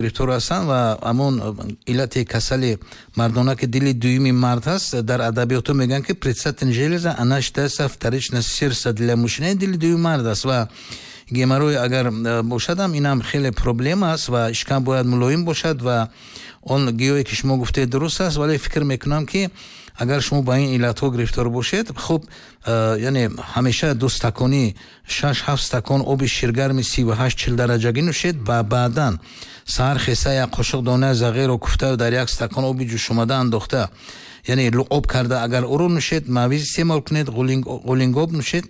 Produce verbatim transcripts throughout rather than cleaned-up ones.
Гирифтор ҳастанд ва ҳамон иллати касали мардона, ки дили дуюми мард ҳаст, дар адабиётҳо мегӯянд, ки предстательная железа, она считается вторичное сердце для мужчины, дили дуюми мард аст. Ва геморрой агар бошадам, инам хеле проблема аст ва шикам бояд мулоим бошад. Ва он гиёҳе, ки шумо гуфтед, дуруст аст, вале фикр мекунам, ки агар шумо ба ин иллатҳо гирифтор бошед, хуб, яъне ҳамеша ду стакони, шаш ҳафт стакон оби ширгарми сиву ҳашт чил дараҷагӣ нӯшед ва баъдан саҳар хеса як қошуқ донаи зағирро куфта, дар як стакон оби ҷӯшомада андохта, яъне луъоб карда, агар ӯро нӯшед, мавиз истеъмол кунед, ғулингоб нӯшед,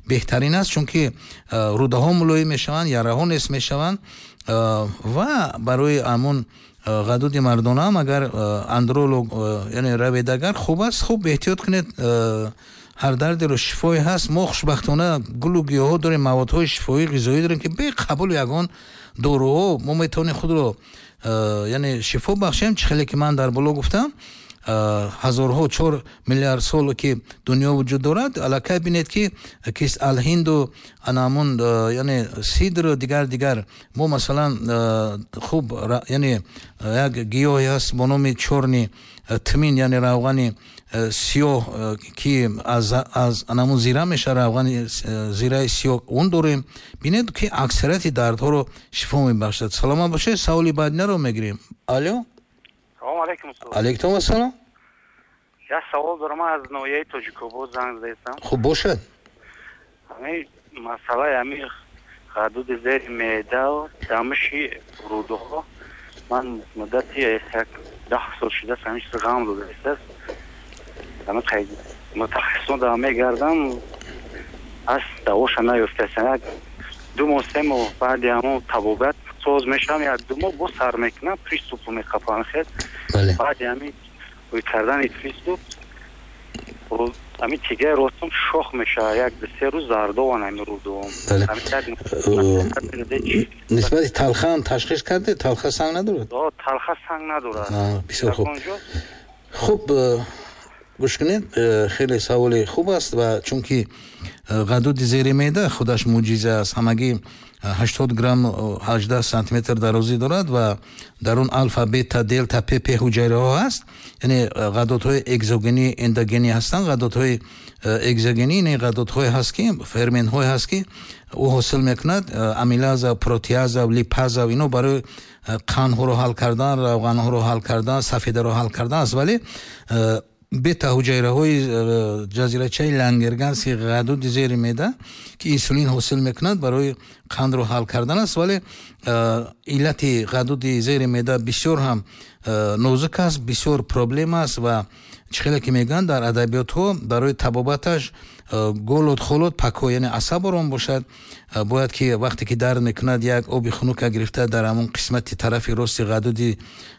беҳтарин аст, чунки рӯдаҳо мулоим мешаванд, яраҳо нест мешаванд. Ва барои ҳамон ғадуди мардонаам агар андролог, яъне равед, агар хуб аст. Хуб, эҳтиёт кунед, ҳар дардеро шифое ҳаст. Мо хушбахтона гулу гиёҳҳо дорем, маводҳои шифоӣ, ғизоӣ дорем, ки бе қабули ягон доруҳо мо метавонем худро, яъне, шифо бахшем. Чӣ хеле ки ман дар боло гуфтам, ҳазорҳо, чор миллиард сол ки дунё вуҷуд дорад, аллакай бинед, ки кист алҳинду анамун, яъне сидру дигар дигар. Мо масалан, хуб, яъне як гиёҳе ҳаст бо номи чёрный тмин, яъне равғани сиёҳ, ки аз аз анамун зира мешавад, равғани зираи сиёҳ, он дорем. Бинед, ки аксарияти дардҳоро шифо мебахшад. Саломат бошед. Саволи баъдинаро мегирем. Алё. Салому алейкум. Алейкум ассалом. Як савол дорам, аз ноҳияи Тоҷикобод занг задаистам. Хуб, бошад. Ҳамин масъалаи ҳамин ғадуди зери меъда, дамиши рӯдаҳо, ман муддати як даҳ сол шудааст, ҳамин чиз ғам додааст. Мутахассисон дам мегардам, аз давоша наёфтааст. Як ду моҳ, се моҳ баъди ҳамон табобат соз мешавам, як ду моҳ боз сар мекунам, приступ меқапам хел. Баъди ҳамин ӯй кардани приступ ҳамин тигаи ростум шох мешавад, як ду се рӯз зардован ҳамин рӯдуом. Нисбати талха ҳам ташхис карде? Талха санг надорад? Талха санг надорад. Бисёр хуб. Хуб, гӯш кунед, э, хеле саволи хуб аст. Ва чунки э, ғадуди зери меъда худаш мӯъҷиза аст, ҳамагӣ ҳаштод грамм, ҳаждаҳ сантиметр дарозӣ дорад ва дар он алфа, бета, делта, п п ҳуҷайраҳо ҳаст, яъне ғадудҳои экзогенӣ, эндогенӣ ҳастанд. Ғадудҳои экзогенӣ ин ғадудҳое ҳаст, ки ферментҳое ҳаст, ки ӯ ҳосил мекунад, амилаза, протеаза, липаза, ино барои қандҳоро ҳал кардан, равғанҳоро ҳал кардан, сафедаро ҳал кардан аст. Вале бета ҳуҷайраҳои ҷазирачаи Лангерганси ғадуди зери меъда, ки инсулин ҳосил мекунад, барои қандро ҳал кардан аст. Вале иллати ғадуди зери меъда бисёр ҳам нозук аст, бисёр проблема аст. Ва чӣ хеле ки мегӯянд дар адабиётҳо, барои табобаташ голод, холод, покой, яъне асаб ором бошад. Бояд ки вақте ки дард мекунад, як оби хунука гирифта, дар ҳамон қисмати тарафи рости ғадуди,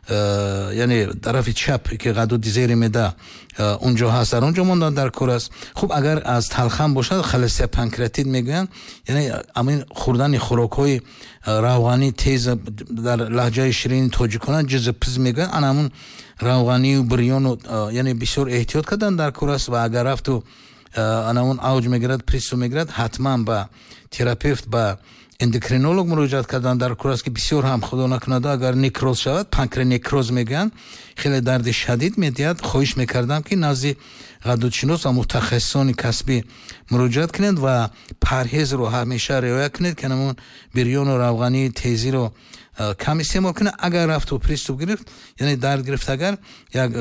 яъне тарафи чап, ки ғадуди зери меъда унҷо ҳаст, дар он ҷо мондан дар кор аст. Хуб, агар аз талхам бошад, холестопанкреатит мегӯянд, яъне ҳамин хӯрдани хӯрокҳои равғанӣ тез, дар лаҳҷаи ширини тоҷикона ҷиз пиз мегӯянд, ана ҳамун равғанию бирёну, яъне бисёр эҳтиёт кардан дар кор аст. Ва агар рафту ана он авҷ мегирад, приступ мегирад, ҳатман ба терапевт, ба эндокринолог муроҷиат кардан дар кор аст, ки бисёр ҳам, худо накунада, агар некроз шавад, панкреонекроз мегӯянд, хеле дарди шадид медиҳад. Хоҳиш мекардам, ки назди ғадудшинос ва мутахассисони касбӣ муроҷиат кунед ва парҳезро ҳамеша риоя кунед, ки ҳамон бирёну равғании тезиро кам истеъмол кунед. Агар рафту приступ гирифт, яъне дард гирифт, агар як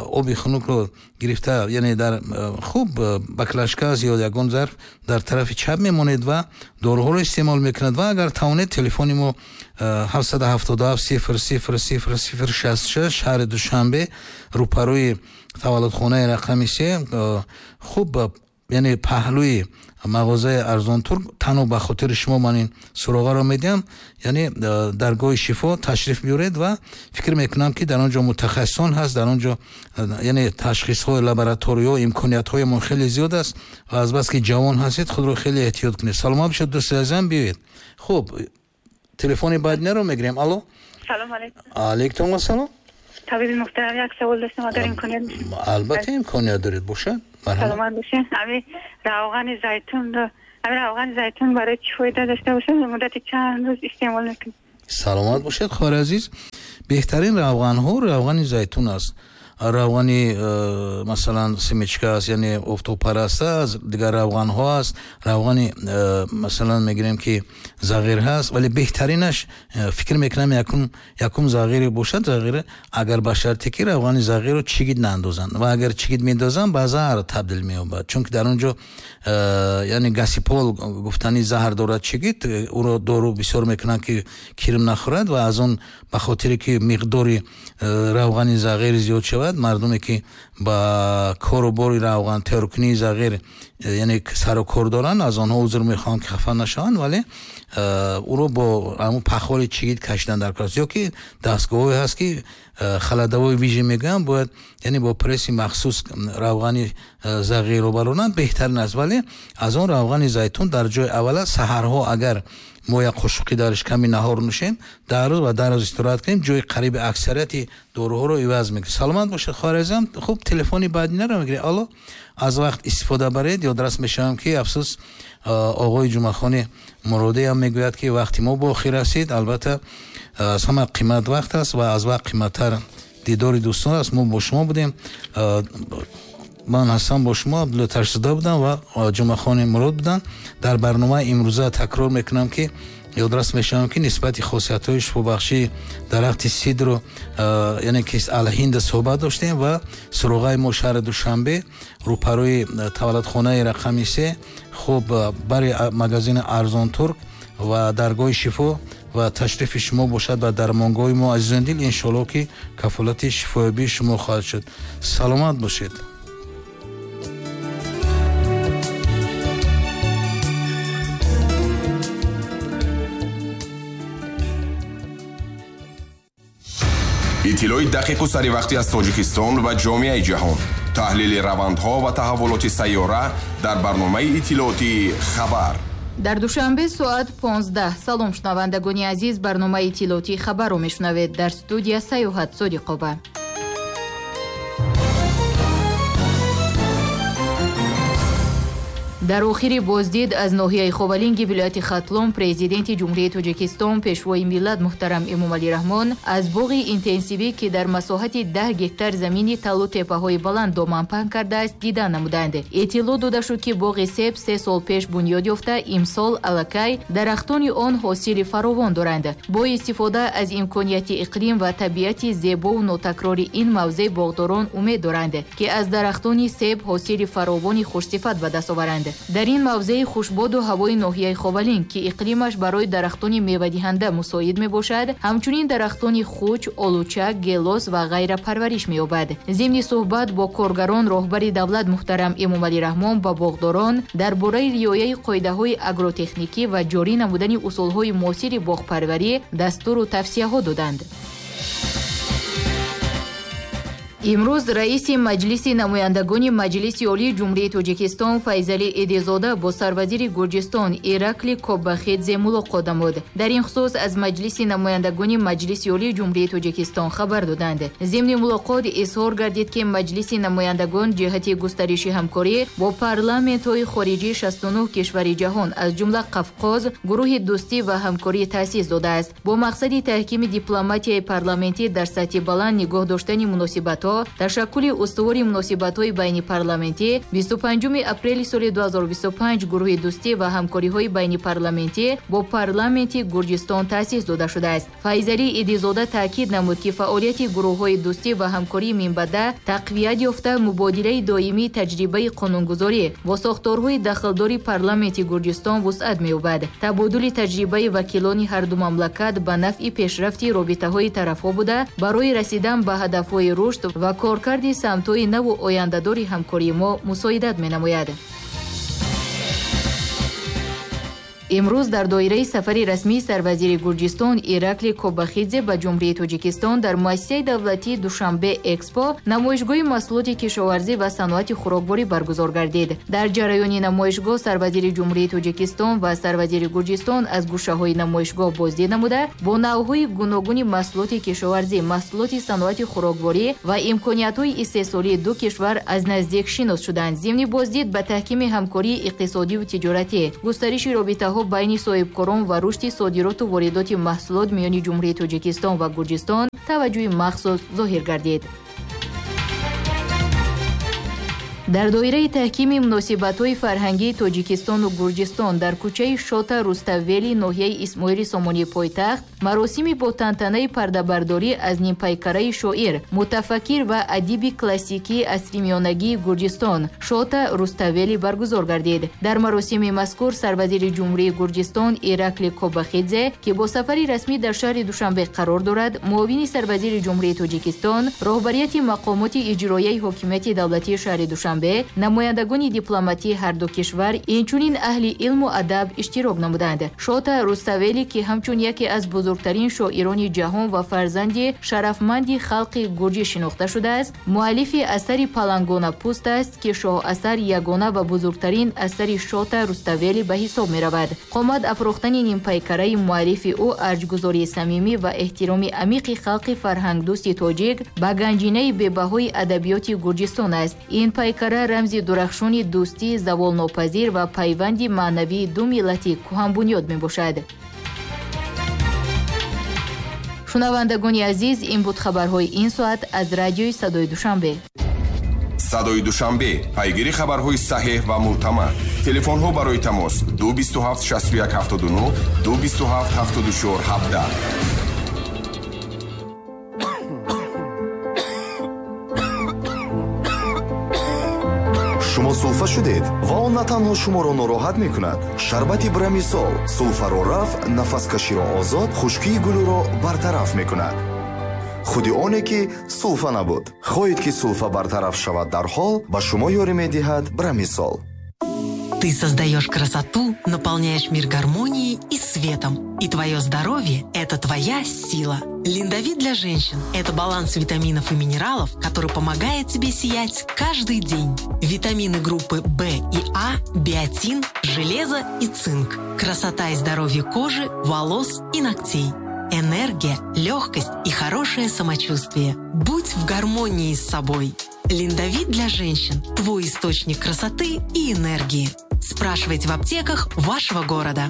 оби хунукро гирифта, яъне дар хуб баклажка ё ягон зарф дар тарафи чап мемонед ва доруҳоро истеъмол мекунад. Ва агар тавонед, телефони мо ҳафтсаду ҳафтоду ҳафт сифр сифр сифр сифр шасту шаш, шаҳри Душанбе, рӯпарӯи таваллудхонаи рақами се, хуб, яъне паҳлӯи мағозаи Арзонтурк, танҳо ба хотири шумо ман ин суроғаро медиҳам, яъне э, даргоҳи шифо ташриф биёред. Ва фикр мекунам, ки дар он ҷо мутахассисон ҳаст, дар он ҷо, э, яъне ташхисҳои лабораториҳо, имкониятҳоямон хеле зиёд аст. Ва азбаски ҷавон ҳастед, худро хеле эҳтиёт кунед. Саломат бошед, дӯсти азизам, биёед. Хуб, телефони баъдинаро мегирем. Алло. Салом алейкум. Алейкум ассалом. Табиби муҳтарам, як савол доштам, агар имконият. Албатта, имконият доред, бошад. Саломат бошед. Ҳамин равғани зайтун, ҳамин равғани зайтун барои чӣ фоида дошта бошад? Муддати чанд рӯз истеъмол мекунем? Саломат бошед хоҳари азиз. Беҳтарин равғанҳо равғани зайтун аст. Равғани масалан семечка аст, яъне офтобпараст аст, дигар равғанҳо аст, равғани масалан мегирем ки зағир ҳаст, вале беҳтаринаш фикр мекунам якум якум зағире бошад. Зағир агар ба шарте ки равғани зағирро чигит наандозанд ва агар чигит меандозанд ба заҳр табдил меёбад, чунки дар он ҷо яъне гасипол гуфтани заҳр дорад чигит, ӯро дору бисёр мекунанд ки кирм нахӯрад ва аз он ба хотире ки миқдори равғани зағир зиёд шавад, мардуме ки ба кору бори равған тайёркунии зағир яъне сару кор доранд, аз онҳо узр мехоҳам ки хафа нашаванд, вале ӯро бо ҳамон пахоли чигит кашидан дар кор аст. Ё ки дастгоҳҳое ҳаст ки халадавои вижа мегӯянд, бояд яъне бо пресси махсус равғани зағирро баронанд, беҳтарин аст. Вале аз он равғани зайтун дар ҷои аввал аст. Саҳарҳо агар мо як қошуқи дар шиками наҳор нӯшем, дар рӯз ва дар рӯз истироҳат кунем, ҷои қариби аксарияти доруҳоро иваз мекунем. Саломат бошед хоҳари азизам. Хуб, телефони баъдинаро мегирем. Алло, аз вақт истифода баред. Ёдрас мешавам ки афсӯс оғои Ҷумъахони Муродӣ ҳам мегӯяд ки вақти мо ба охир расид. Албатта аз ҳама қимат вақт аст ва аз вақт қиматтар дидори дӯстон аст. Мо бо шумо будем. Ман ҳастам бо шумо, Абдулло Ташзода будам ва Ҷумъахони Мурод буданд. Дар барномаи имрӯза такрор мекунам ки ёдрас мешавам ки нисбати хосиятҳои шифобахшии дарахти сидру яъне ки алҳинда суҳбат доштем ва суроғаи мо шаҳри Душанбе рӯпарӯи таваллудхонаи рақами се, хуб бари магазини Арзон Турк ва даргоҳи шифо ва ташрифи шумо бошад ба дармонгоҳи мо азизони дил. Иншоалло ки кафолати шифоёбии шумо хоҳад шуд. Саломат бошед. Иттилои дақиқу саривақтӣ аз Тоҷикистон ва ҷомеаи ҷаҳон, таҳлили равандҳо ва таҳаввулоти сайёра дар барномаи иттилоотии «Хабар». Дар Душанбе соат понздаҳ. Салом шунавандагони азиз, барномаи иттилоотии «Хабарро» мешунавед. Дар студия Саёҳат Содиқова. Дар охири боздид аз ноҳияи Ховалинги вилояти Хатлон, президенти Ҷумҳурии Тоҷикистон, пешвои миллат муҳтарам Эмомалӣ Раҳмон аз боғи интенсивӣ, ки дар масоҳати даҳ гектар замини талу теппаҳои баланд доман паҳн кардааст, дида намуданд. Иттилоъ дода шуд, ки боғи себ се сол пеш бунёд ёфта, имсол аллакай дарахтони он ҳосили фаровон доранд. Бо истифода аз имконияти иқлим ва табиати зебову нотакрори ин мавзеъ боғдорон умед доранд, ки аз дарахтони себ ҳосили фаровони хушсифат ба даст оваранд. Дар ин мавзеи хушбоду ҳавои ноҳияи Ховалинг, ки иқлимаш барои дарахтони мевадиҳанда мусоид мебошад, ҳамчунин дарахтони хуч, олуча, гелос ва ғайра парвариш меёбад. Зимни суҳбат бо коргарон, роҳбари давлат муҳтарам Эмомалӣ Раҳмон ба боғдорон дар бораи риояи қоидаҳои агротехникӣ ва ҷорӣ намудани усулҳои муосири боғпарварӣ дастуру тавсияҳо доданд. Имрӯз раиси Маҷлиси намояндагони Маҷлиси Олии Ҷумҳурии Тоҷикистон Файзалӣ Эдизода бо сарвазири Гурҷистон Иракли Кобахидзе мулоқот намуд. Дар ин хусус аз Маҷлиси намояндагони Маҷлиси Олии Ҷумҳурии Тоҷикистон хабар доданд. Зимни мулоқот изҳор гардид, ки Маҷлиси намояндагон ҷиҳати густариши ҳамкорӣ бо парламентҳои хориҷии шасту нӯҳ кишвари ҷаҳон, аз ҷумла Қавқоз, гурӯҳи дӯстӣ ва ҳамкорӣ таъсис додааст. Бо мақсади таҳкими дипломатияи парламентӣ дар сатҳи баланд нигоҳ доштани муносибатҳо, ташаккули устувори муносибатҳои байнипарламентӣ бисту панҷуми апрели соли ду ҳазору бисту панҷ гурӯҳи дӯстӣ ва ҳамкориҳои байнипарламентӣ бо парламенти Гурҷистон таъсис дода шудааст. Файзалӣ Идизода таъкид намуд, ки фаъолияти гурӯҳҳои дӯстӣ ва ҳамкории минбаъда тақвият ёфта, мубодилаи доимии таҷрибаи қонунгузорӣ бо сохторҳои дахлдори парламенти Гурҷистон вусъат меёбад. Табодули таҷрибаи вакилони ҳарду мамлакат ба нафъи пешрафти робитаҳои тарафҳо буда, барои расидан ба ҳадафҳои рушд ва коркарди самтҳои наву ояндадори ҳамкории мо мусоидат менамояд. Имрӯз дар доираи сафари расмии сарвазири Гурҷистон Иракли Кобахидзе ба Ҷумҳурии Тоҷикистон дар муассисаи давлатии Душанбе Экспо намоишгоҳи маҳсулоти кишоварзӣ ва саноати хӯрокворӣ баргузор гардид. Дар ҷараёни намоишгоҳ сарвазири Ҷумҳурии Тоҷикистон ва сарвазири Гурҷистон аз гӯшаҳои намоишгоҳ боздид намуда, бо навъҳои гуногуни маҳсулоти кишоварзӣ, маҳсулоти саноати хӯрокворӣ ва имкониятҳои истеҳсолии ду кишвар аз наздик шинос шуданд. Зимни боздид ба таҳкими ҳамкории иқтисодиву тиҷоратӣ, густариши робитаҳо мубодилаҳо байни соҳибкорон ва рушди содироту воридоти маҳсулот миёни Ҷумҳурии Тоҷикистон ва Гурҷистон таваҷҷӯҳи махсус зоҳир гардид. Дар доираи таҳкими муносибатҳои фарҳангии Тоҷикистону Гурҷистон дар кӯчаи Шота Руставели ноҳияи Исмоили Сомонии пойтахт маросими бо тантанаи пардабардорӣ аз нимпайкараи шоир, мутафаккир ва адиби классикии асримиёнагии Гурҷистон Шота Руставели баргузор гардид. Дар маросими мазкур сарвазири Ҷумҳурии Гурҷистон Иракли Кобахидзе, ки бо сафари расмӣ дар шаҳри Душанбе қарор дорад, муовини сарвазири Ҷумҳурии Тоҷикистон, роҳбарияти мақомоти иҷроияи ҳокимияти давлатии шаҳри Душанбе, намояндагони дипломатии ҳарду кишвар, инчунин аҳли илму адаб иштирок намуданд. Шота Руставели, ки ҳамчун яке аз бузургтарин шоирони ҷаҳон ва фарзанди шарафманди халқи гурҷӣ шинохта шудааст, муаллифи асари Палангона пӯст аст, ки шоҳасар ягона ва бузургтарин асари Шота Руставели ба ҳисоб меравад. Қомат афрохтани нимпайкараи муаллифи ӯ арҷгузории самимӣ ва эҳтироми амиқи халқи фарҳангдӯсти тоҷик ба ганҷинаи бебаҳои адабиёти Гурҷистон аст. Ин пайкара рамзи дурахшони дӯстии заволнопазир ва пайванди маънавии ду миллати кӯҳанбунёд мебошад. Шунавандагони азиз, ин буд хабарҳои ин соат аз радиои Садои Душанбе. Садои Душанбе, пайгири хабарҳои саҳеҳ ва мӯътамад. Телефонҳо барои тамос ду бисту ҳафт шасту як ҳафтоду нӯҳ, ду бисту ҳафт ҳафтоду чор ҳабдаҳ. Шумо сулфа шудед ва он на танҳо шуморо нороҳат мекунад. Шарбати Брамисол сулфаро рафъ, нафаскаширо озод, хушкии гулӯро бартараф мекунад. Худи оне ки сулфа набуд. Хоҳед ки сулфа бартараф шавад дарҳол, ба шумо ёрӣ медиҳад Брамисол. Ты создаешь красоту, наполняешь мир гармонией и светом. И твое здоровье – это твоя сила. Линдовит для женщин – это баланс витаминов и минералов, который помогает тебе сиять каждый день. Витамины группы В и А, биотин, железо и цинк. Красота и здоровье кожи, волос и ногтей. Энергия, легкость и хорошее самочувствие. Будь в гармонии с собой. Линдовит для женщин – твой источник красоты и энергии. Спрашивайте в аптеках вашего города.